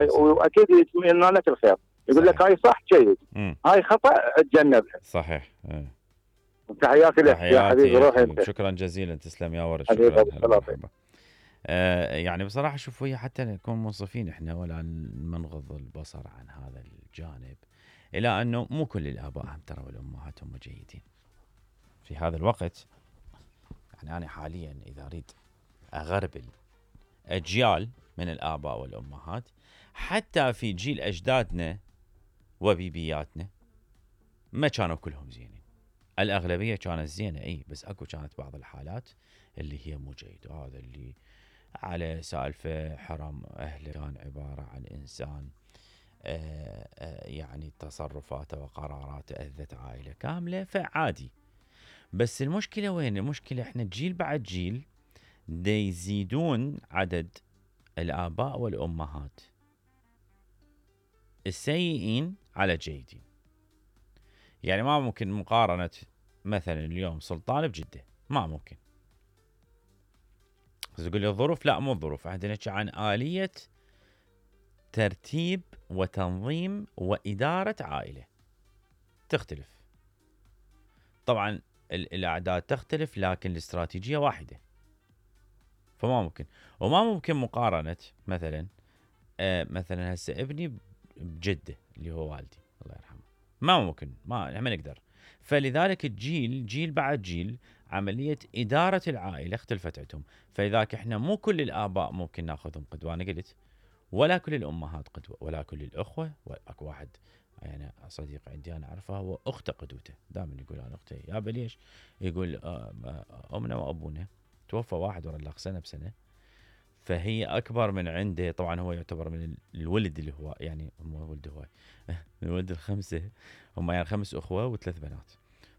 واكيد يتمنى لك الخير، يقول لك هاي صح جيد، هاي خطا اتجنبها. صحيح. تحياتي لك يا حبيبي، روح انت. شكرا جزيلا، تسلم يا ورد، حبيبي شكرا. أبو مرحبا. يعني بصراحة شوف، ويا حتى نكون منصفين احنا ولا نغض البصر عن هذا الجانب، إلى أنه مو كل الآباء هم ترى والأمهات هم جيدين في هذا الوقت. يعني أنا حاليا إذا أريد أغربل أجيال من الآباء والأمهات، حتى في جيل أجدادنا وبيبياتنا ما كانوا كلهم زينين، الأغلبية كانت زينة أي، بس أكو كانت بعض الحالات اللي هي مو جيدة. هذا اللي على سالفة حرم أهله كان عبارة عن إنسان يعني تصرفاته وقراراته أذت عائلة كاملة، فعادي. بس المشكلة وين؟ المشكلة احنا جيل بعد جيل دي يزيدون عدد الآباء والأمهات السيئين على جيدين. يعني ما ممكن مقارنة مثلا اليوم سلطان بجدة، ما ممكن. تقول لي الظروف، لا مو الظروف، احنا نحكي عن آلية ترتيب وتنظيم وإدارة عائلة تختلف. طبعا الأعداد تختلف لكن الاستراتيجية واحدة، فما ممكن. وما ممكن مقارنة مثلا مثلا هسه ابني بجدة اللي هو والدي الله يرحمه، ما ممكن، ما نقدر. فلذلك الجيل جيل بعد جيل عملية إدارة العائلة اختلفت عندهم. فلذلك احنا مو كل الآباء ممكن ناخذهم قدوة، أنا قلت، ولا كل الأمهات قدوة، ولا كل الأخوة. أكو واحد يعني صديق عندي أنا أعرفه هو أخته قدوته، دائما يقول أنا أختي يا ليش؟ يقول أمنا وأبونا توفى واحد ورا الأخ سنة بسنة، فهي أكبر من عنده. طبعا هو يعتبر من الولد اللي هو يعني مو ولد هو الولد الخمسة، هم يعني 5 أخوة و3 بنات،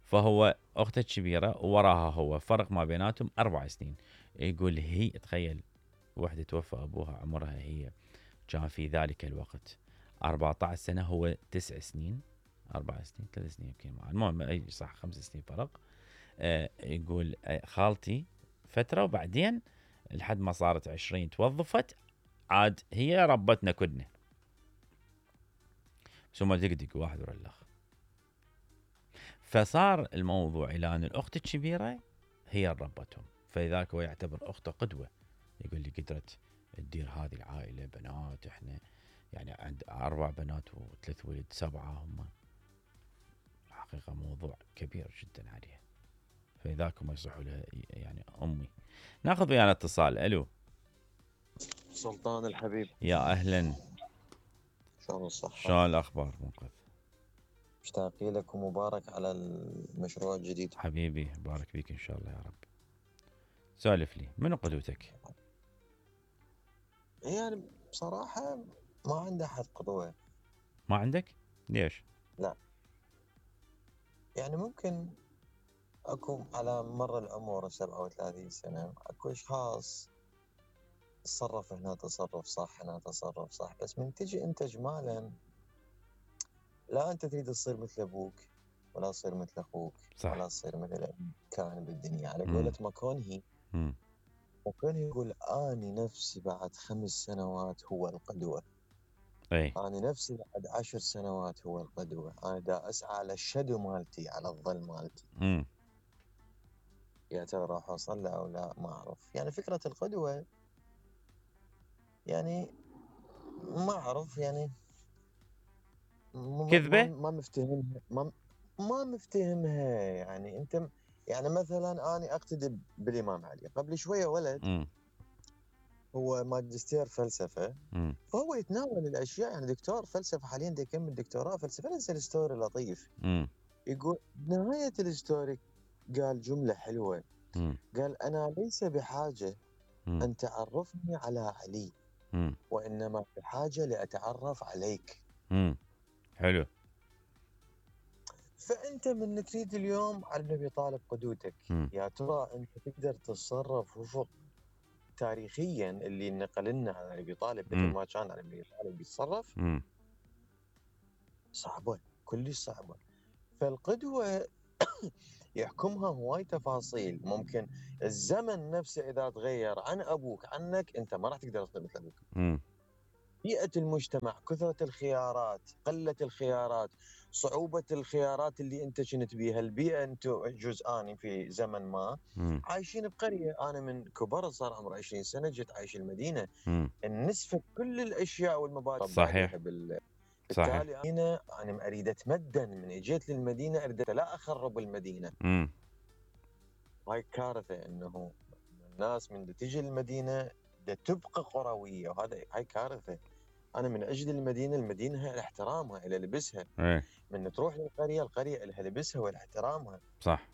فهو أخته الكبيرة ووراها هو، فرق ما بيناتهم 4 سنين. يقول هي تخيل وحدة توفى أبوها عمرها هي كان في ذلك الوقت 14 سنة، هو 9 سنين، 4 سنين 3 سنين يمكن معه، المهم أي صح 5 سنين فرق. يقول خالتي فترة وبعدين لحد ما صارت 20 توظفت، عاد هي ربتنا كلنا، بس هم دقدق واحد ورا الأخ. فصار الموضوع إلى أن الأخت الكبيرة هي ربتهم، فلذلك هو يعتبر أخته قدوة. يقول لي قدرت تدير هذه العائلة، بنات احنا يعني عند 4 بنات و3 ولد 7 هم، حقيقة موضوع كبير جدا عليها، فلذلك هم يصحوا لها يعني أمي. ناخذ ويانا اتصال. ألو سلطان الحبيب، يا أهلا، شلون الصحة؟ شلون الأخبار؟ منقذ، مشتاقين لك ومبارك على المشروع الجديد. حبيبي بارك فيك إن شاء الله يا رب. سالف لي، منو قدوتك؟ يعني بصراحة ما عندي أحد قدوة. ما عندك؟ ليش؟ لا يعني ممكن أكو على مر العمر 37 سنة أكو أشخاص تصرف هنا تصرف صح، هنا تصرف صح، بس من تجي أنت إجمالا لا أنت تريد تصير مثل أبوك ولا تصير مثل أخوك صح. ولا تصير مثل كان بالدنيا. على قولة ماكونهي، ماكونهي يقول أني نفسي بعد 5 سنوات هو القدوة. أي. أنا نفسي بعد 10 سنوات هو القدوة. أنا دا أسعى على الشدو مالتي، على الظل مالتي. يا ترى راح أوصل له أو لا ما أعرف. يعني فكرة القدوة يعني ما أعرف، يعني كذبة؟ ما مفتهمها، ما مفتهمها. يعني أنت يعني مثلا أنا أقتدي بالإمام علي. قبل شوية ولد هو ماجستير فلسفة، فهو يتناول الأشياء، يعني دكتور فلسفة حاليا دا يكمل دكتوراه فلسفة. نزل ستوري لطيف يقول نهاية الستوري قال جملة حلوة، قال أنا ليس بحاجة أن تعرفني على علي، وإنما بحاجة لأتعرف عليك. حلو. فأنت من تريد اليوم علي بن أبي طالب قدوتك، يا ترى أنت تقدر تتصرف وفق تاريخيا اللي نقل لنا عن علي بن أبي طالب مثل ما كان علي بن أبي طالب بيتصرف؟ صعبة، كلش صعبة. فالقدوة يحكمها هواي تفاصيل. ممكن الزمن نفسه إذا تغير عن أبوك عنك، أنت ما راح تقدر تصير مثل أبوك. بيئة المجتمع، كثرة الخيارات، قلة الخيارات، صعوبة الخيارات اللي انت كنت بيها، البيئة انتم جزءاني في زمن ما عايشين بقرية. انا من كبر صار عمري 20 سنة جيت عايش المدينة. النسفة كل الاشياء والمبادئ صحيح. بالتالي انا اريد اتمدن. من اجيت للمدينة اريد لا اخرب المدينة. هاي كارثة انه الناس من تجي المدينة تبقى قروية، وهذا هاي كارثة. انا من اجل المدينه لها احترامها، لها لبسها. من تروح للقريه، القريه لها لبسها واحترامها. صح.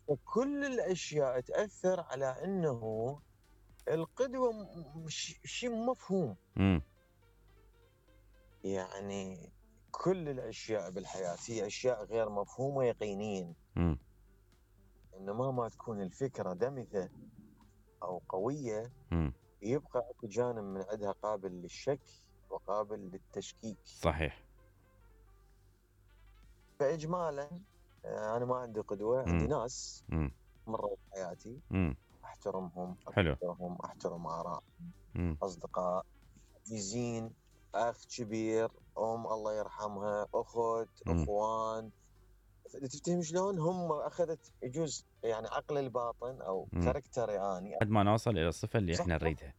فكل الاشياء تاثر على انه القدوه شيء مفهوم. يعني كل الاشياء بالحياه هي اشياء غير مفهومه يقينيا. انما ما تكون الفكره دمثه او قويه يبقى اكو جانب من عندها قابل للشك وقابل للتشكيك. صحيح. فاجمالا انا ما عندي قدوه، عندي ناس مروا بحياتي احترمهم، اقدرهم، احترم ارائهم، اصدقاء عزيزين، اخ كبير، الله يرحمها، اخت، اخوان. تفتهم شلون؟ هم اخذت يجوز يعني عقل الباطن او كاركتري اني لحد ما نوصل الى الصفه اللي احنا نريدها.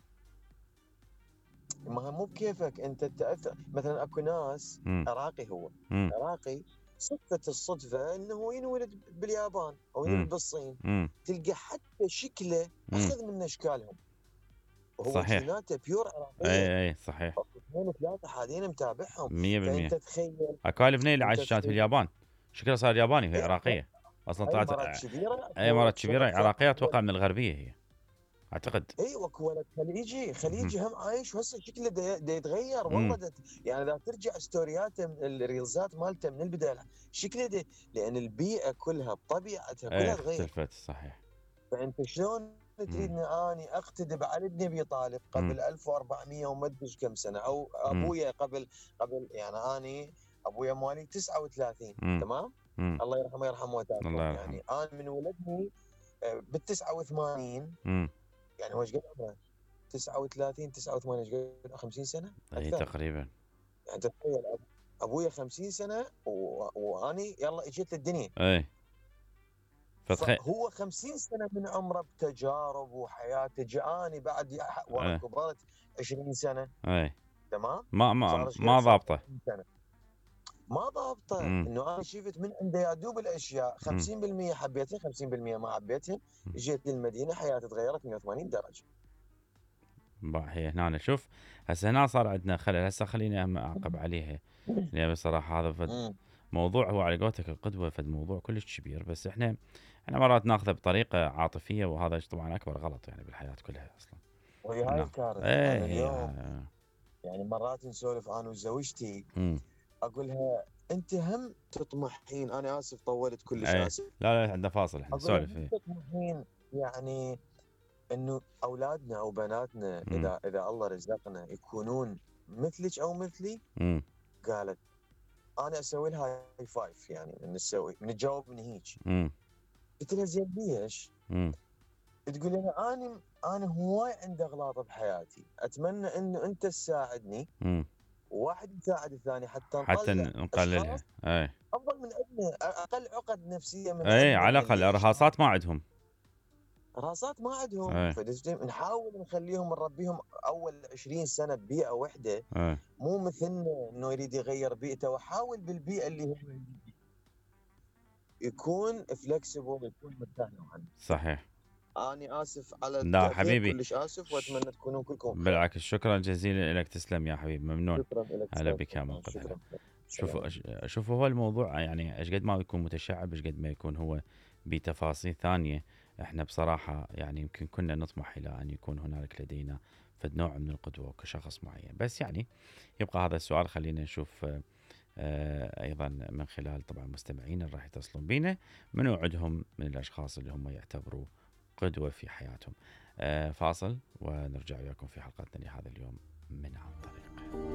ما مو بكيفك انت تاثر. مثلا اكو ناس عراقي، هو عراقي، صدفة الصدفة انه ينولد باليابان او ينولد بالصين. تلقى حتى شكله اخذ من اشكالهم، وهو جيناته بيور عراقية. اي صحيح. اثنين ثلاثة حاليا متابعهم. 100%. فانت تخيل اكو بنيه اللي عايشت في اليابان شكلها صار ياباني وهي عراقية اصلا. طلعت مرات كبيرة. اي مرات كبيرة عراقية اتوقع من الغربية هي اعتقد. اي واكو ولد خليجي هم عايش، وهسه شكله دا يتغير والله. يعني اذا ترجع ستورياته الريلزات مالته من البدايه شكله لان البيئه كلها بطبيعتها كلها تغير. اختلفت. صحيح. فانت شلون تريدني اني اقتدي بعلي بن ابي طالب قبل 1400 وما ادري كم سنه، او ابويا قبل يعني اني ابويا مالي 39 تمام. الله يرحمه يرحم موتاكم. يعني انا من ولدني بال 89 يعني هو ايش قد عمره؟ 39 89 ايش قد 50 سنه؟ اي تقريبا. يعني تخيل ابويا 50 سنه واني يلا اجيت للدنيا. اي هو 50 سنه من عمره بتجارب وحياته. جاني بعد ورا كبرت 20 سنه. اي تمام. ما ضابطه. ما ضابطه. انه انا شفت من عنده يا دوب الاشياء 50% حبيتها 50% ما حبيتها. جيت للمدينه حياتي تغيرت 180 درجه. هي هنا شوف هسه هنا صار عندنا خلل. هسه خليني اعقب عليها يعني بصراحه هذا فد موضوع هو على قولتك القدوه فد موضوع كلش كبير، بس احنا مرات ناخذه بطريقه عاطفيه، وهذا طبعا اكبر غلط يعني بالحياه كلها اصلا. وهي هاي الكارثه. انا اليوم يعني مرات نسولف انا وزوجتي اقول لها انت هم تطمحين، انا اسف طولت كلش اسف. لا عندنا فاصل احنا نسولف. تطمحين يعني انه اولادنا او بناتنا اذا الله رزقنا يكونون مثلك او مثلي؟ قالت انا اسوي لها هاي فايف. يعني من تجاوب من هيك. قلت لها زين ليش؟ تقول لي انا هواي عندي اغلاط بحياتي، اتمنى انه انت تساعدني وواحد يساعد الثاني حتى نقللها. اي افضل من عندنا، اقل عقد نفسيه من اي على الاقل رهاصات ما عندهم. نحاول نخليهم نربيهم اول 20 سنه ببيئه واحده. مو مثلنا انه يريد يغير بيئته، وحاول بالبيئه اللي هو يكون فلكسبل، يكون مرتاح نوعا. صحيح. اني اسف على لا حبيبي، كلش اسف، واتمنى تكونون كلكم خير. بالعكس شكرا جزيلا لك. تسلم يا حبيبي، ممنون. شكرا لك. هلا بك يا منقذ. شوفوا هو الموضوع يعني ايش قد ما يكون متشعب ايش قد ما يكون هو بتفاصيل ثانيه. احنا بصراحه يعني يمكن كنا نطمح الى ان يكون هنالك لدينا فد نوع من القدوه كشخص معين، بس يعني يبقى هذا السؤال. خلينا نشوف ايضا من خلال طبعا مستمعين راح يتصلون بينا منو عندهم من الاشخاص اللي هم يعتبروا قدوه في حياتهم. فاصل ونرجع وياكم في حلقتنا لهذا اليوم من عن طريق.